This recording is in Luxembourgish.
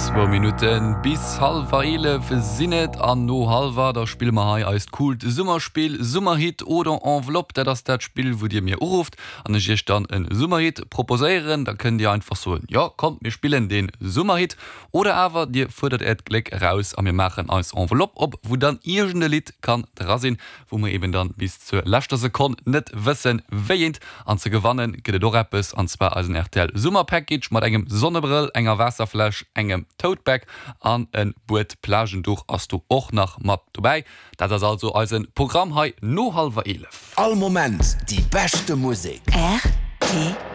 Zwou Minutte bis hallwer 11 sinn et an no hallwer da spille mer hei eist coolt Summerspill Summerhit oder Enveloppe. Dat ass dat Spill wou dir mir urufft an ech iech dann e Summerhit proposéieren. Da kënnt dir einfach soen, jo kommt mir spillen dee Summerhit oder awer dir fuerdert äert Gléck eraus a mir maachen eis Enveloppe op wou dann iergend e Lidd kann dra sinn. wou mer eben dann bis zur leschter Sekonn net wëssen wéieent. An ze gewannen gëtt et och eppes, an zwar eisen rtl Summer Package mat engem Sonnebrëll, enger Waasserfläsch, engem Tote Bag an en Buet Plagenduch ass do och nach mat dobäi. Dat ass also eisen Programm hei no hallwer 11. All Moment déi beschte Musek. Rtl.